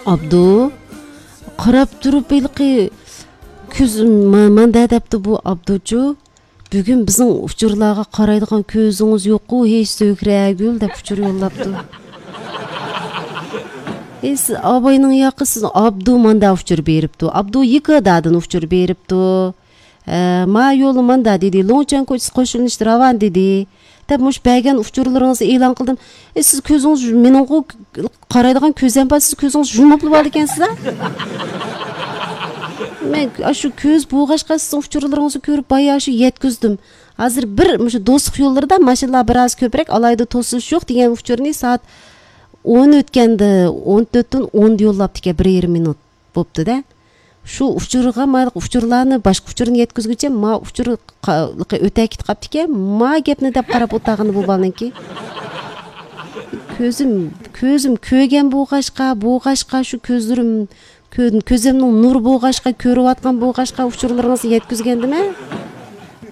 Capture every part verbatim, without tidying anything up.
ئابدۇ، قاراپ تۇرۇپ ھېلىقى كۆز، ما-، ماندا دەپتۇ بۇ ئابدۇچۇ. بۈگۈن بىزنىڭ ئۇچۇرلارغا قارايدىغان كۆزىڭىز يوققۇ، ھېي سۆھرەگۈل دەپ ئۇچۇر يوللاپتۇ. ھېي سىز ئاباينىڭ ياقى، سىز ئابدۇ ماندا ئۇچۇر بېرىپتۇ. ئابدۇ يىكىدادىن ئۇچۇر بېرىپتۇ. ھە، ما يولى ماندا دېدى، لوڭچەن كوچىسى قوشۇلۇش راۋان دېدى. دەپ مۇشۇ بەرگەن ئۇچۇرلىرىڭىزنى ئېلان قىلدىم. ئى، سىز كۆزىڭىز، مېنىڭغۇ قارايدىغان كۆزەم بار، سىز كۆزىڭىز يۇمۇپلا بولىدىكەنسىز ھە؟ مەن ئاشۇ كۆز بولغاچقا سىزنىڭ ئۇچۇرلىرىڭىزنى كۆرۈپ بايا شۇ يەتكۈزدۈم. ھازىر بىر مۇشۇ دوستلۇق يوللىرىدا ماشىنىلار بىراز كۆپرەك، ئالاھىدە توسۇلۇش يوق دېگەن ئۇچۇرنى سائەت ئون ئۆتكەندە، ئون تۆتتىن ئوندا يوللاپتىكەن، بىر يېرىم مىنۇت بوپتۇ-دە. شۇ ئۇچۇرغا مايلىق ئۇچۇرلارنى، باشقا ئۇچۇرنى يەتكۈزگۈچە ما ئۇچۇر قا-، ئۆتە كېتىپ قاپتىكەن، ما گەپنى دەپ قاراپ ئولتۇرغىنى بۇ بالىنىڭكى. كۆزۈم، كۆزۈم كۆرگەن بولغاچقا، بولغاچقا شۇ كۆزلىرىم، كۆ-، كۆزۈمنىڭ نۇرى بولغاچقا، كۆرۈۋاتقان بولغاچقا ئۇچۇرلىرىڭىزنى يەتكۈزگەندىمەن.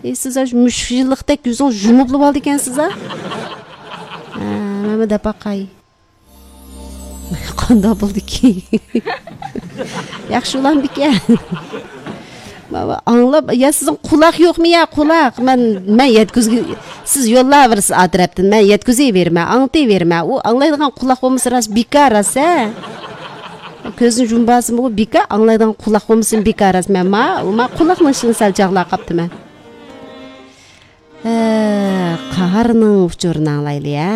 ئى، سىز ئاشۇ مۈشۈك يىللىقتەك يۈزۈڭىز يۇمۇپلا بولىدىكەنسىز ھە؟ ھە، مەنمۇ دەپ باقاي. قانداق بولدىكى؟ ياخشى ئۇلامدىكەن. مانا ئاڭلاپ، يا سىزنىڭ قۇلاق يوقمۇ يا، قۇلاق؟ مەن، مەن يەتكۈزگۈ-، سىز يوللاۋېرىسىز ئا تەرەپتىن، مەن يەتكۈزۈۋېرىمەن، ئاڭلىتىۋېرىمەن. ئۇ ئاڭلايدىغان قۇلاق بولمىسا راست بىكار راست ھە. كۆزنى يۇمۇۋالسىمۇ ئۇ بىكار، ئاڭلايدىغان قۇلاق بولمىسىمۇ بىكار راست. مەن ما، ما قۇلاقنىڭ ئىشىنى سەل چاغلاپ قاپتىمەن. ھە، قاھارنىڭ ئۇچۇرىنى ئاڭلايلى ھە.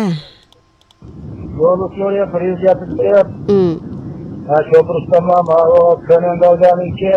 يولۇ سورۇيا پرېزىدېنتىدىكى. ھە، شوپۇر ئۇستام، ماۋۇ كۆنەن دالدانىڭكى.